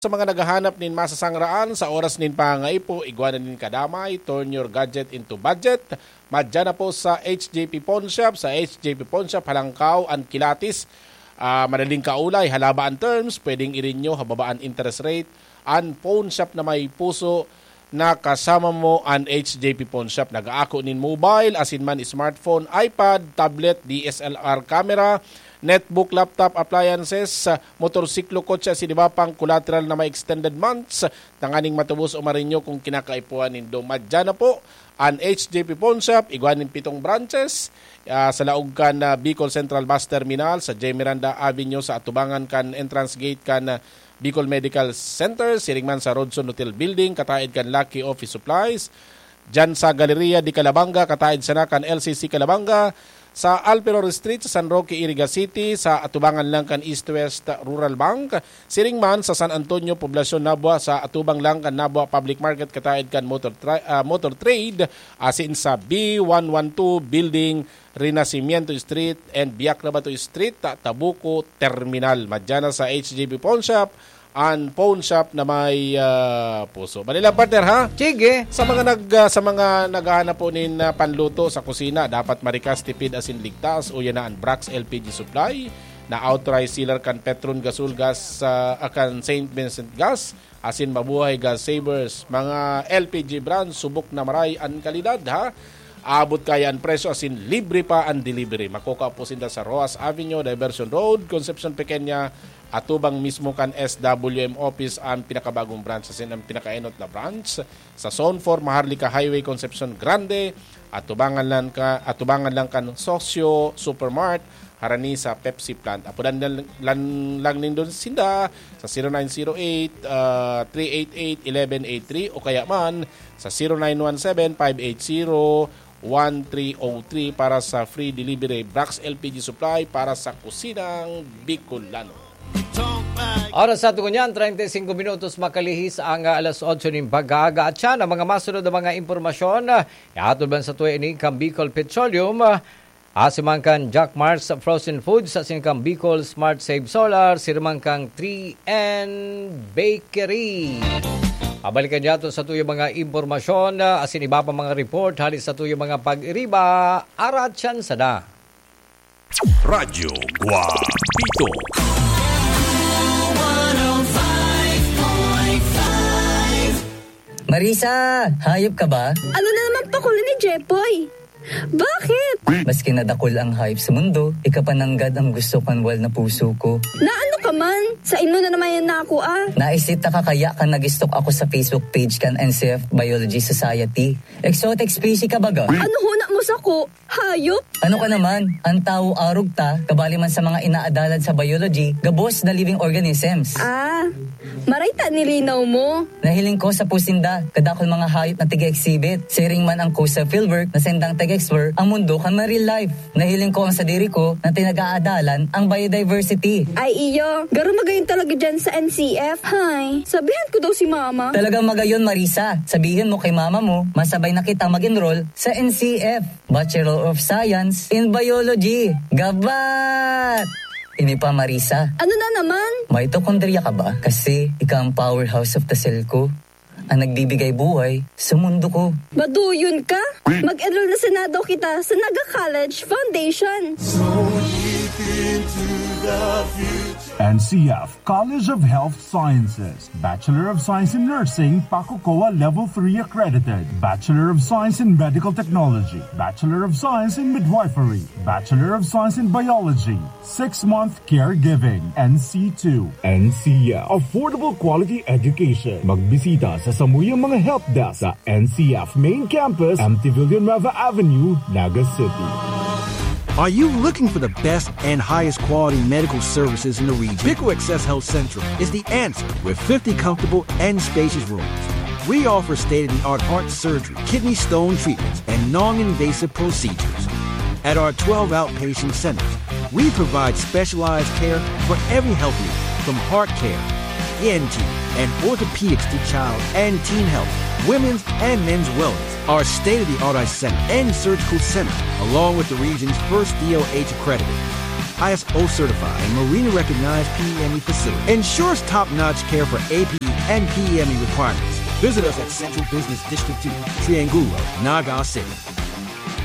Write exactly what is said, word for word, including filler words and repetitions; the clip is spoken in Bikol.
Sa mga naghahanap nin masasangraan sa oras nin pangangaipo, igwa na nin kadamay, turn your gadget into budget. Madya na po sa H J P Pawn Shop. Sa H J P Pawn Shop, halangkaw an kilatis. Ah, madaling kaulay, halaba an terms, pwedeng i-renew, hababa an interest rate. An pawn shop na may puso na kasama mo an H J P Pawn Shop. Nag-aako nin mobile, asin man smartphone, iPad, tablet, D S L R camera, netbook, laptop, appliances, motorsiklo, kotse, asin iba pang collateral na may extended months tanganing matubos o marenew kung kinakaipuhan nindo. Madya na po an H J P Pawn Shop, igwa nin pitong branches, ah, sa laog kan, ah, Bicol Central Bus Terminal, sa J Miranda Avenue, sa atubangan kan entrance gate kan, ah, Bicol Medical Center, siring man sa Rodson Hotel Building, kataed kan Lucky Office Supplies, diyan sa Galleria de Calabanga, kataed sana kan L C C Calabanga, sa Alperor Street, sa San Roque, Iriga City, sa atubangan lang kan East West Rural Bank, siring man sa San Antonio, Poblacion, Nabua, sa atubang lang kan Nabua Public Market, kataed kan Motor, Tra- ah, Motor Trade, asin sa B one one two Building, Renacimiento Street and Biak na Bato Street, ta-, Tabuco Terminal. Madya na sa H J B Pawn Shop, an pawn shop na may, ah, puso. Manila, partner, ha? Sige. Sa mga nag-, ah, sa mga naghahanap po nin, ah, panluto sa kusina, dapat marikas, tipid, asin ligtas, uya na an Brax L P G Supply, na authorized seller kan Petron Gasol Gas, ah, kan Saint Vincent Gas, asin Mabuhay Gas Savers. Mga L P G brand, subok na maray an kalidad, ha? Abot kaya an presyo, asin libre pa an delivery. Makukua po sinda sa Roxas Avenue, Diversion Road, Concepcion Pequeña, atubang mismo kan S W M office an pinakabagong branch, asin an pinakaenot na branch sa Zone four, Maharlika Highway, Concepcion Grande, atubangan lang ka, atubangan lang kan Socio Supermart, harani sa Pepsi plant. Apodan lang, lang, lang nindo sinda sa zero nine zero eight, ah, three eight eight, eleven eight three o kaya man sa zero nine one seven, five eight zero, one three oh three para sa free delivery. Brax L P G Supply para sa kusinang Bicolano. Oras sa aton ngunyan, treinta y cinco minutos makalihis ang, ah, alas otso nin pag-aaga. At siya, ang mga masunod na mga impormasyon, ah, ihatod man sa tuya ini kan Bicol Petroleum, ah, asin man kan Jack Mars Frozen Foods, asin kan Bicol Smart Save Solar, siring man kan three N Bakery. Pabalikan niya aton sa tuyang mga impormasyon, ah, asin iba pa mga report hali sa tuyang mga pag-iriba, arat siyan sana. Radyo Guapito. Marisa, hayop ka ba? Ano na naman pakuli ni Jepoy? Bakit? Maski na dakul ang hayop sa mundo, ika pa nanggad ang gusto kan wal na puso ko. Na ano ka man? Sa imo na naman yan na ako, ah. Naisita ka kaya kan nag-stalk ako sa Facebook page kan N C F Biology Society. Exotic species ka baga? Ano huna mo sako? Hayop? Ano ka naman? Ang tawo arog ta, kabali man sa mga inaadalan sa biology, gabos na living organisms. Ah, maray ta nilinaw mo. Nahiling ko sa pusinda, kadakul mga hayop na tiga-exhibit. Siring man ang Coastal Fieldwork na sendang tiga-explore ang mundo kan marine life. Nahiling ko ang sadiri ko na tinag-aadalan ang biodiversity. Ay iyo, garo magayon talaga dyan sa N C F. Hay, sabihan ko daw si mama. Talagang magayon, Marisa. Sabihin mo kay mama mo, masabay na kita mag-enroll sa N C F, Bachelor of Science in Biology. Gabat! Ini pa, Marisa. Ano na naman? Mitochondria ka ba? Kasi ika ang powerhouse of the cell ko. Ang nagbibigay buhay sa mundo ko. Maduyon ka? Mag-enroll na sana daw kita sa Naga College Foundation. N C F College of Health Sciences, Bachelor of Science in Nursing, PACUCOA Level three accredited, Bachelor of Science in Medical Technology, Bachelor of Science in Midwifery, Bachelor of Science in Biology, six-month caregiving, N C two. N C F, affordable quality education. Magbisita sa samuyang mga help desk sa N C F Main Campus, M T Villanueva Avenue, Naga City. Are you looking for the best and highest quality medical services in the region? Bicol Access Health Central is the answer with fifty comfortable and spacious rooms. We offer state of the art heart surgery, kidney stone treatments, and non invasive procedures. At our twelve outpatient centers, we provide specialized care for every health need, from heart care, E N T, and orthopedics to child and teen health, women's and men's wellness. Our state of the art eye center and surgical center, along with the region's first D O H accredited I S O certified and Marina recognized P M E facility. Ensures top-notch care for A P E and P M E requirements. Visit us at Central Business District two, Triangulo, Naga City.